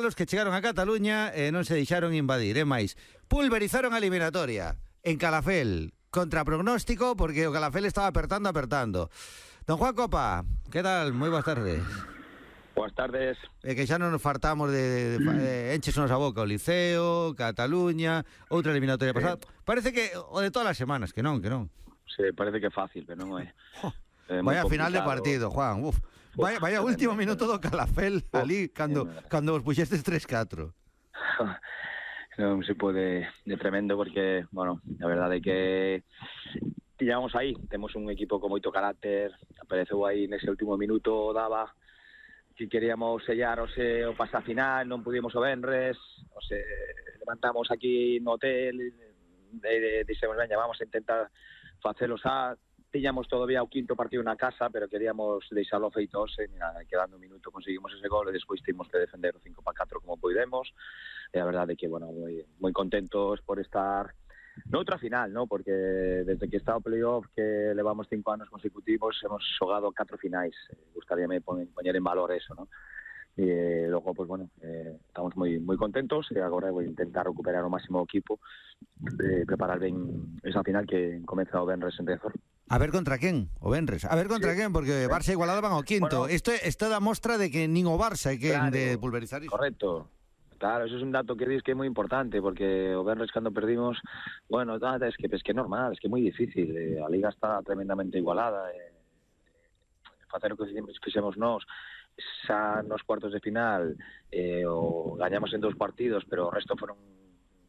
Los que chegaron a Cataluña non se deixaron invadir, máis pulverizaron a eliminatoria en Calafell, contra pronóstico, porque o Calafell estaba apertando. Don Juan Copa, que tal? Moi boas tardes. Boas tardes. Que xa non nos fartamos de enchesonos a boca o Liceo, Cataluña, outra eliminatoria pasada. Parece que o de todas as semanas, que non. Sí, parece que é fácil, pero non é. Vaya final de partido, Juan. Vaya último minuto do Calafell ali cando vos puxestes 3-4. Non se pode, de tremendo, porque, bueno, a verdade é que pillamos aí, temos un equipo con moito carácter, apareceu aí nese último minuto, daba que queríamos sellar o pasa final, non pudimos o venres, levantamos aquí no hotel, dixemos, veña, vamos a intentar facelos tiñamos todavía o quinto partido na casa, pero queríamos deixarlo feito e quedando un minuto conseguimos ese gol e despois temos que defender o 5-4 como podemos. E a verdade é que, bueno, moi contentos por estar noutra final, ¿no? Porque desde que está o playoff, que levamos 5 anos consecutivos, hemos xogado 4 finais. Gustaríame poñer en valor eso, ¿no? E logo, pues bueno, estamos moi contentos e agora vou intentar recuperar o máximo equipo, preparar ben esa final que comeza o venres en Riazor. A ver contra quen, o venres. A ver contra quen, porque Barça igualado van ao quinto. Bueno, isto dá mostra de que nin o Barça é quen de pulverizar iso. Correcto. Claro, eso es un dato que dis que é moi importante, porque o venres cando perdimos, bueno, es que é normal, es que é moi difícil. A Liga está tremendamente igualada. Facer o que fixemos nós, xa nos cuartos de final, o gañamos en 2 partidos, pero o resto foron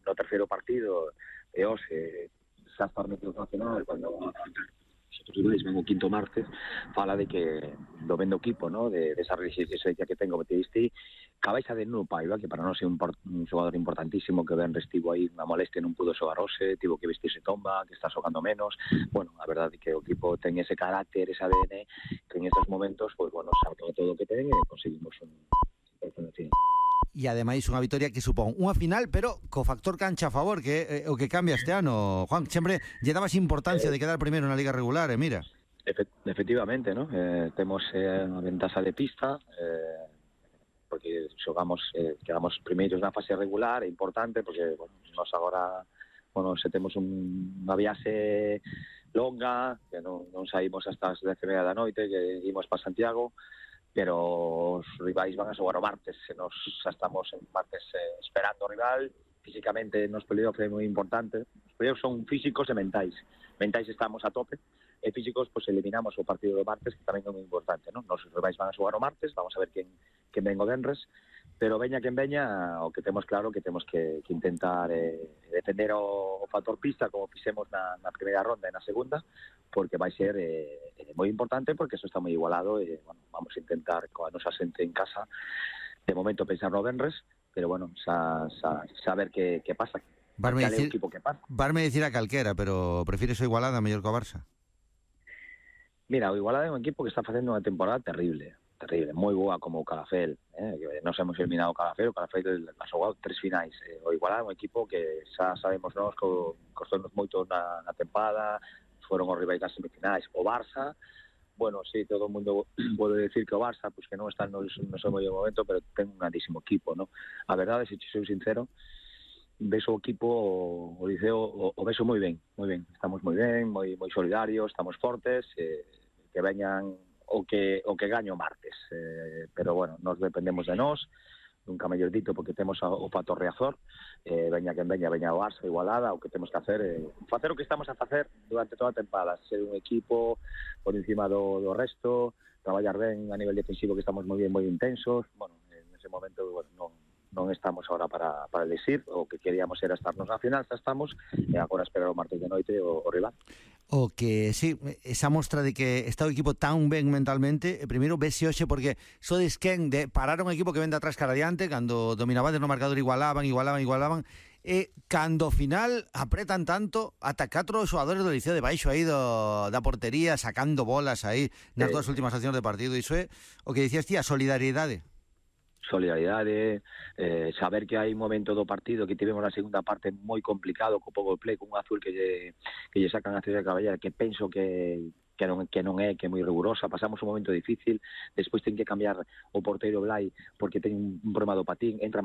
no terceiro partido, e xa está no nacional, cuando nosotros veis, vengo o quinto martes, fala de que do vendo equipo, ¿no? De esa resistencia que tengo, te diste cabeza de Nuno Paiva, que para nós é un xogador importantísimo, que ben restivo aí unha molestia, non pudo xogar hoxe, tivo que vestirse tomba, que está xogando menos. Bueno, a verdade é que o equipo ten ese carácter, ese ADN, que en estos momentos, pues bueno, saca todo o que ten e conseguimos un final. E ademais unha vitoria que supón unha final, pero co factor cancha a favor, que é o que cambia este ano. Juan, sempre lle dabas importancia de quedar primeiro na Liga regular, mira. Efectivamente, ¿no? Temos unha ventaxa de pista, porque quedamos primeiros na fase regular, é importante, porque bueno, nos agora, bueno, se temos unha viaxe longa, que non saímos hasta as 10:30 da noite, que imos para Santiago, pero os rivais van a xogar o martes, se nos xa estamos en martes esperando o rival. Físicamente nos playoff é moi importante, os playoff son físicos e mentais estamos a tope, e físicos, pues eliminamos o partido do martes, que tamén é moi importante, non? Nos rivais van a xogar o martes, vamos a ver quen ven o venres, pero veña quen veña, o que temos claro que temos que intentar defender o factor pista, como fixemos na primeira ronda e na segunda, porque vai ser moi importante, porque eso está moi igualado, e bueno, vamos a intentar coa nosa xente en casa de momento pensar no venres, pero bueno, saber que pasa. Varme dicir a calquera, pero prefires o Igualada mellor que o Barça? Mira, o Igualada é un equipo que está facendo unha temporada terrible, moi boa como o Calafell, nos hemos eliminado o Calafell ha xogado 3 finais, o Igualada é un equipo que xa sabemos nós que costou-nos moito na temporada, foron os rivais das semifinais. O Barça, bueno, sí, todo o mundo pode decir que o Barça, pues que non está no seu mellor momento, pero ten un grandísimo equipo, ¿no? A verdade, se sou sincero, ves o equipo, o Liceo, o ves moi ben, estamos moi ben, moi solidarios, estamos fortes, que veñan o que gaño martes, pero bueno, nos dependemos de nós, nunca mellor dito, porque temos o factor Riazor, veña quen veña o Barça, Igualada, o que temos que hacer facer o que estamos a facer durante toda a temporada, ser un equipo por encima do resto, traballar ben a nivel defensivo, que estamos moi ben, moi intensos. Bueno, en ese momento, bueno, non estamos ahora para elegir, o que queríamos era estarnos na final, xa estamos, e agora esperar o martes de noite o rival. O que, sí, esa mostra de que está o equipo tan ben mentalmente, primeiro vese hoxe, porque sodes quen de parar un equipo que vende atrás cara adiante, cando dominabades no marcador igualaban, e cando ao final apretan tanto, ata 4 xogadores do Liceo de baixo aí da portería, sacando bolas aí nas dúas últimas accións de partido. Iso é o que dicías ti, a solidariedade. Saber que hai un momento do partido que tivemos na segunda parte moi complicado, co power play, con un azul que lle sacan a César Caballera, que penso que que é moi rigurosa. Pasamos un momento difícil, despois ten que cambiar o porteiro Blai porque ten un problema do patín, entra